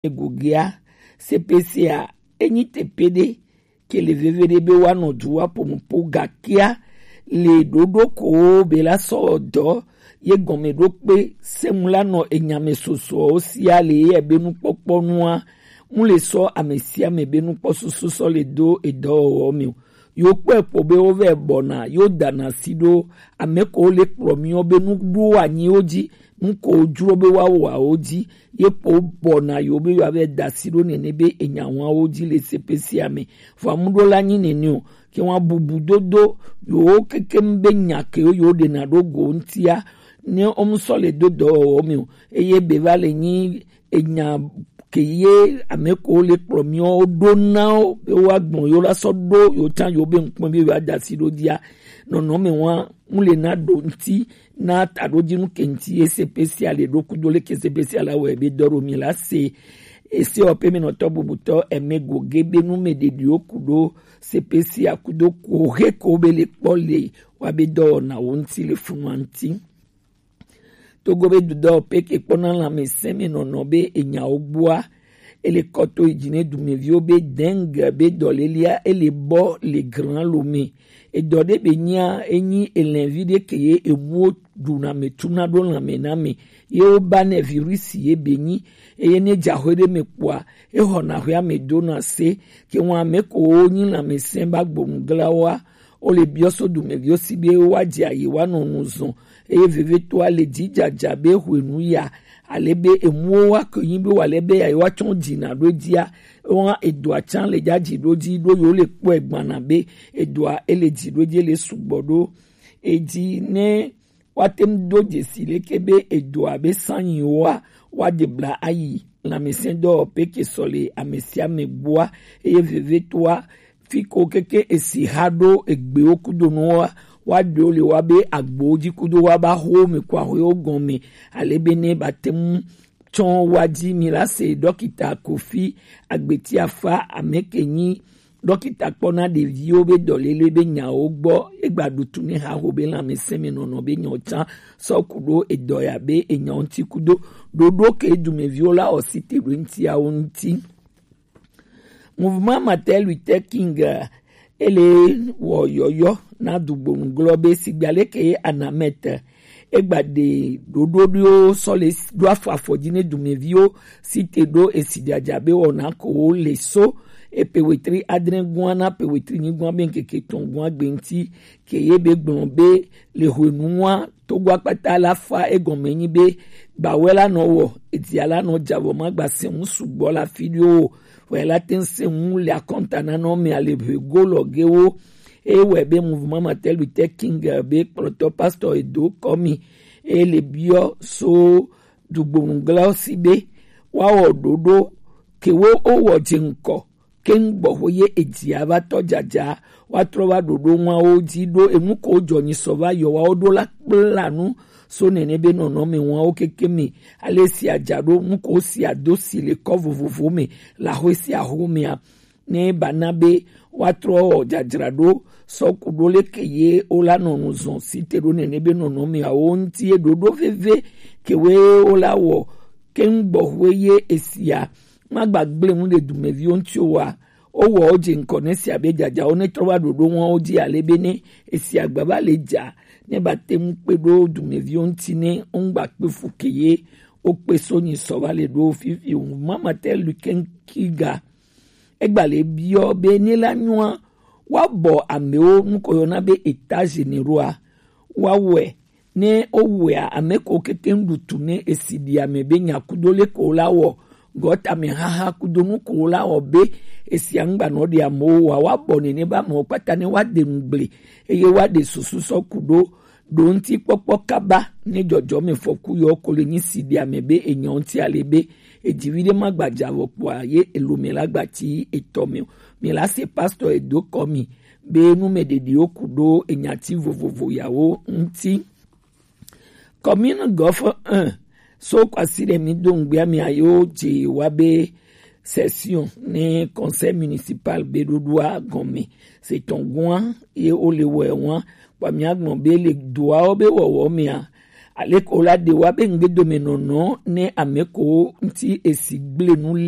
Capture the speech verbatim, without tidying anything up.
Egogea, C P C a, enyi tepe ɖe ke le veve ɖe be woanɔ du woaƒo nu po, gakea le ɖoɖo ko be la sɔ dɔ ye gɔme ɖo kpe sɛmu la nɔ enyame sosoawo sia le ye be nukpɔkpɔ nua, mu le sɔ ame sia ame be nukpɔ susu sɔ le do edɔwɔwɔ me o. Yo kpɔe kpɔ be wo vɛ bɔna yo dana si ɖo ame ko le kplɔ miɔ be nu ɖo anyi wo dzi, nu ko jro be wa wa wo dzi, ye kpɔ bɔna yo be yo avɛ da si ɖo nene be enya wa wo dzi le C P C a me. Vɔ amu ɖo la nyi nene o, ke wa bubu dodo yo kekem be nya ke yo ɖe na ɖo go ŋtia, ne o mu sɔ le do dɔwɔwɔ me o, eye be va le nyi enya ke ye ame ko le kplɔ miɔ ɖo na wo be wa gbɔn yo la sɔ ɖo yo tsan yo be ŋkpɔn be yo ada si ɖo dia. Nɔnɔme wa mu le na ɖo ŋti na taɖodzinu ke ŋti ye C P C a le ɖo kudo le ke C P C a la wɔ be dɔ ɖo mi la se. Ese ɔ pe mi nɔtɔ bubutɔ eme goge be nu me ɖeɖiwo kudo C P C a kudo ko he ko be le kpɔ le wa be dɔwɔnawo ŋti le funua ŋti. Togo be dudɔ pe ke kpɔna lãmesẽ me nɔnɔ be enyawo gbɔa, ele kɔto yi dzi ne dumeviwo be dengue be dɔlelia ele bɔ le gran lo me. Edɔ ɖe be nyia enyi elɛnvi ɖe ke ye emuwo ɖuna me tuna ɖo lãme na me, ye wo ba nɛ virus ye be nyi, eye ne dza xwe ɖe me kpɔa, exɔna xwea me dona se. Ke ŋu ame ko wo nyi lãmesẽ ba gbonu glawoa, wo le biɔ so dumeviwo si be wa dze ayi wa nɔ nu zɔn, eye vevetoa le dzidzadza be hwenu ya, ale be emuwo wa ke nyi be wa le be ya wa tsɔ dzina ɖo dzia, wa edoa tsan le dzadzi ɖo dzi ɖo yo le kpɔe gbana be edoa ele dzi ɖo dzi le sugbɔ ɖo edzi ne woate ŋu do dzesi leke be edoa be sanyiwoa woaɖe bla ayi lãmesẽdɔwɔƒe ke sɔ le ame sia ame gbɔa, eye vevetoa fi ko keke esi ha ɖo egbewo kudo nuwoa, woaɖewo le woa be agbowo dzi kudo woa be ahowo me ko ahowo gɔme, ale be ne bate ŋu tsɔ wa dzi mi la se ɖɔkita Kofi Agbetiafa ame ke nyi ɖɔkita kpɔna ɖeviwo be dɔlele be nyawo gbɔ. Egba ɖu tu ne haho be lãmesẽ me nɔnɔ be nyawo tsã sɔ ku ɖo edɔ ya be enyawo ŋuti kudo ɖoɖo ke dumeviwo la ɔsi te ɖo ŋutiawo ŋuti. Mouvement Martin Luther King, eh, ele wɔ yɔyɔ na dugbonu glɔ be sigba leke ye Anamɛt egba ɖe ɖoɖoɖiwo sɔ le ɖo afɔ afɔ dzi ne dumeviwo si te ɖo esi dzadza be wɔna ko wo le so epe wetri adre gua na pe wetri nyigua be ŋkeke tɔn gua gbe ŋuti ke ye be gblɔ be le hwenua Togo akpata la fa egɔme nyi be gbawɛ la nɔ wɔ, edia la nɔ dza vɔ ma gba se ŋu sugbɔ la fi ɖio o. Wɛ la te ŋu se ŋu le akɔnta na nɔ mɛ ale ʋe go lɔ ge wo. Eye wɛ be Mouvement Martin Luther King be kplɔtɔ pastor edo kɔ mi. Eye le biɔ so dugbonuglawo si be woawɔ ɖoɖo ke wo wowɔ dze ŋkɔ keŋ gbɔxwe ye edzia va tɔ dzadza, woatrɔ va ɖoɖo ŋuawo dzi ɖo enu ko jɔ nyi sɔ va yɔ woawo ɖo la kpla nu so nene be nɔnɔme ŋuawo keke me. Ale sia dza ɖo nu ko sia do si le kɔ vovovo me le axwe sia axwe mea, ne ba na be woatrɔ wɔ dzadzraɖo sɔ ku ɖo leke ye wola nɔ nu zɔn si te ɖo nene be nɔnɔmeawo ŋuti ye ɖoɖo veve ke woe wola wɔ keŋ gbɔxwe ye esia magba gblẽ nu ɖe dumeviwo ŋuti o wa. Wowɔ wo dze ŋkɔ ne sia be dzadzawo ne trɔ va ɖoɖo ŋuawo dzi ale be ne esia gba va le dza ne ba te ŋu kpe ɖo dumeviwo ŋuti ne wo ŋgba kpe fu ke ye wo kpe so nyi sɔ va le ɖo fifi o. Mama te lu keŋkiga egba le biɔ be ne la nyɔa woabɔ amewo ŋkɔ yɔna be état généraux a, woawɔe ne wowɔea ame ko keke ŋɖu tu ne esi ɖi ame be nya kudo le ko la wɔ gɔta me haha kudo nu ko la wɔ be esia ŋgba nɔ ɖe amewo wa woabɔ nene be amewo kpata ne woaɖe ŋugble eye woaɖe susu sɔ ku ɖo ɖo ŋuti kpɔkpɔ kaba ne dzɔdzɔme fɔku yɔ ko le nyi si ɖe ame be enyɔ ŋuti ale be edzivi ɖe ma gba dza vɔ kpɔa ye elome la gba ti etɔ me o. Mi la se pastor edo kɔ mi be nu me ɖeɖiwo ku ɖo enyati vovovo yawo ŋuti. Commune Gɔfɔ un so kwasi ɖe mi do ŋgbea mi ayo dze wa be session ne conseil municipal be ɖoɖoa gɔme se tɔn gua ye wo le wɔ wa kpa mi agbɔn be le doawo be wɔwɔ mea Aleko la ɖe wa be ŋgbedomenɔnɔ ne ame ko ŋuti esi gblenu le